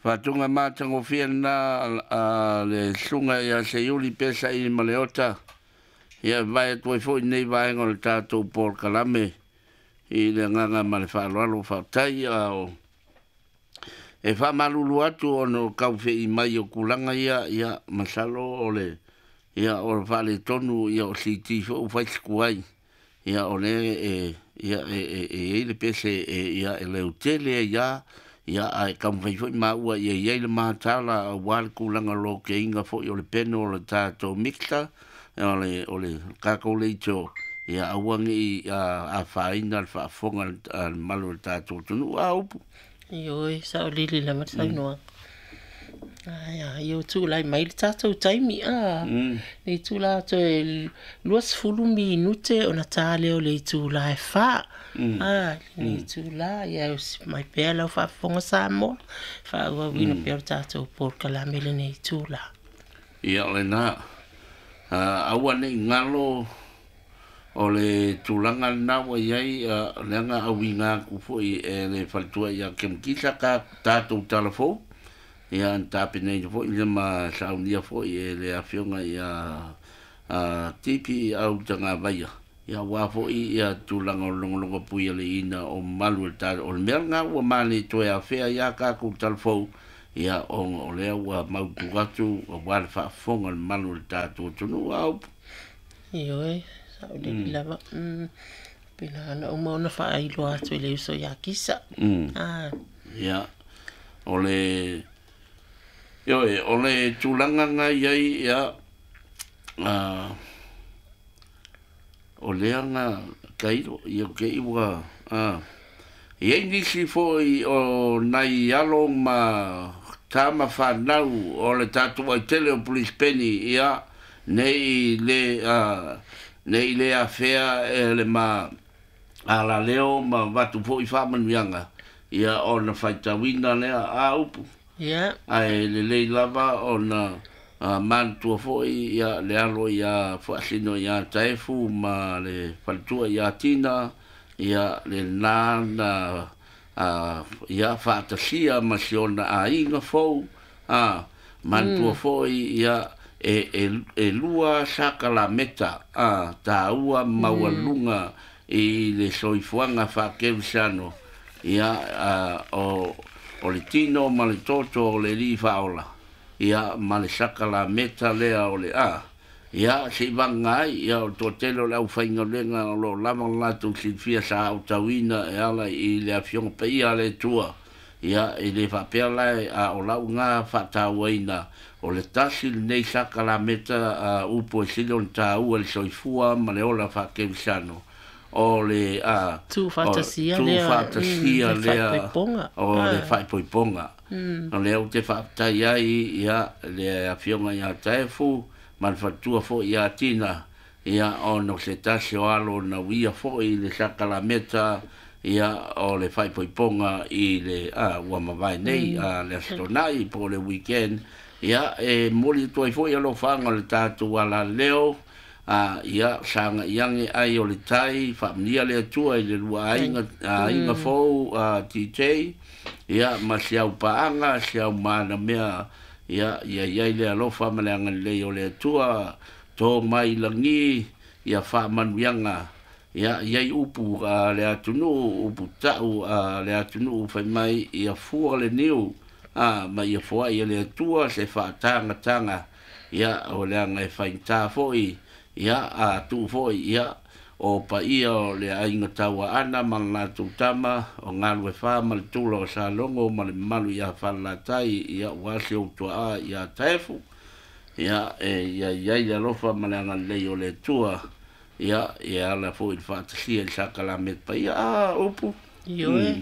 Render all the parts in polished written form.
Faatuga matagofie lena a le Susuga ia Seiuli Pesaili Maleota, ia e vae atu ai foi lenei vaega o le tatou polokalame i le agaga ma le faaaloalo. Faafetai. A o e faamalulu atu ona o taufe'i mai o tulaga ia, ia masalo o le ia o le faaletonu ia o CT foi ua fai si tuai. Ia o lea e ia e e e i ai le pese e ia e leutele ai lava, ia ae taumafai foi maua ia i ai le matala aua le tulaga o lokeina foi o le peno o le tatou mixer, o le tatou leitio, ia aua ne i afaina le faafofoga a le mamalu o le tatou atunuu. A upu? Ioe, saolili lava le saunoaga. Aia, ia ua tulai mai le tatou taimi, a. Le itula toe 20 minute ona ta lea o le itula e 4. A, lenei itula, ia usi mai pea lau faafofoga Samoa, faaauauina pea o le tatou polokalame lenei itula. Ia o lena. Aua ne i galo o le tulaga lena ua i ai, leaga auiga atu foi e le faletua ia Kemukisa ka tatou talafou, ia na tapenaina foi ia ma saunia foi e le afioga ia Tipi au Tagavaia, ia aua foi ia tulaga o le logologo pui a le ina o mamalu o le o le mea lena ua male toe afea ia tatou talafou, ia ona o lea ua mautu atu aua le faafofoga o le mamalu o le tatou atunuu. A upu? Ioe, saolili lava. Pena na uma ona faailoa atu i le uso ia Kisa. Ah. Ia, o le ioe, o le tulaga na i ai, ia, o lea na tailo, ia te i ua, i ai nisi foi o nai alo ma tama fanau o le tatou aitele o Brisbane, ia, nei le, nei le afea e le ma alaleo ma vatu foi faamanuiaga, ia ona faitauina lea. A upu? Ia. Ae lelei lava ona manatua foi ia le alo ia Faasino ia Taefu ma le faletua ia Tina, ia lena na ia faatasia ma si ona aiga fou. Manatua foi ia e lua sakalameta taua maualuga i le soifuaga faakerisiano, ia o le tino ma le toto o le Alii faaola, ia ma le sakalameta lea o le ia se'i vaga ai ia o le toatele o le aufaigaluega o lo o lava le latou silafia sa aotauina e ala i le afioga paia a le Atua. Ia e lē faapea lae a o lau gā faatauaina o le tasi lenei sakalameta upu e sili ona taua i le soifua ma le ola faakerisiano o le Tuufaatasia lea. Tuufaatasia le lea faaipoipoga. O le faaipoipoga o lea ou te faafetai ai ia le afioga ia Taefu ma le faletua foi ia Tina, ia ona o se tasi o alo na uia foi le sakalameta ia o le faaipoipoga i le ua mavae nei le Aso Toonai po o le weekend. Ia e momoli atu ai foi alofaaga o le tatou alaleo, ia sagai age ai o le tai, faamanuia le Atua i le lua aiga, aiga fou, TJ, ia ma si au paaga, si au manamea, ia ia i ai le alofa ma le agalelei o le Atua to mai lagi ia faamanuiaga. Ia i ai upu a le atunuu, upu ta'u a le atunuu fai mai, ia fua le niu ma ia foa'i e le Atua se faatagataga, ia o leaga e faigata foi ia a tuu foi ia o paia o le aiga Tauaana ma le latou tama o Galuefā ma le tula o Salogo ma le mamalu ia Falelatai, ia ua si ou tua'a ia Taefu, ia e ia i ai le alofa ma le agalelei o le Atua, ia e ala foi i le faatasia i le sakalameta paia. A upu? Ioe.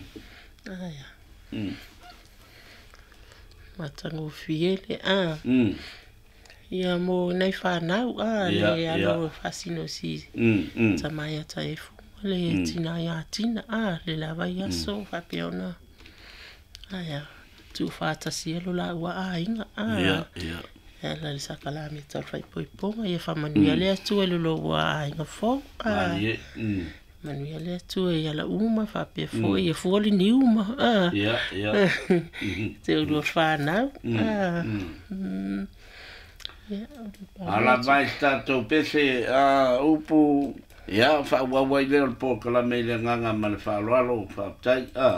Aia. Matagofie le a. Ia mo nai whanau a le alo faasino si tama ia Taefu ma le tina ia Tina a le lava i aso faapea ona aia tuufaatasia lo laua aiga a e ala i le sakalameta o le faaipoipoga. Ia faamanuia le Atua i lo lua aiga fou a. Malie. Manuia le Atua i ala uma faapea foi ia fua le niu ma Ia, ia. Te ulua whānau. Ia, Ala mai se tatou pese a upu ia faaauau ai lea o le polokalame i le agaga ma le faaaloalo faafetai a.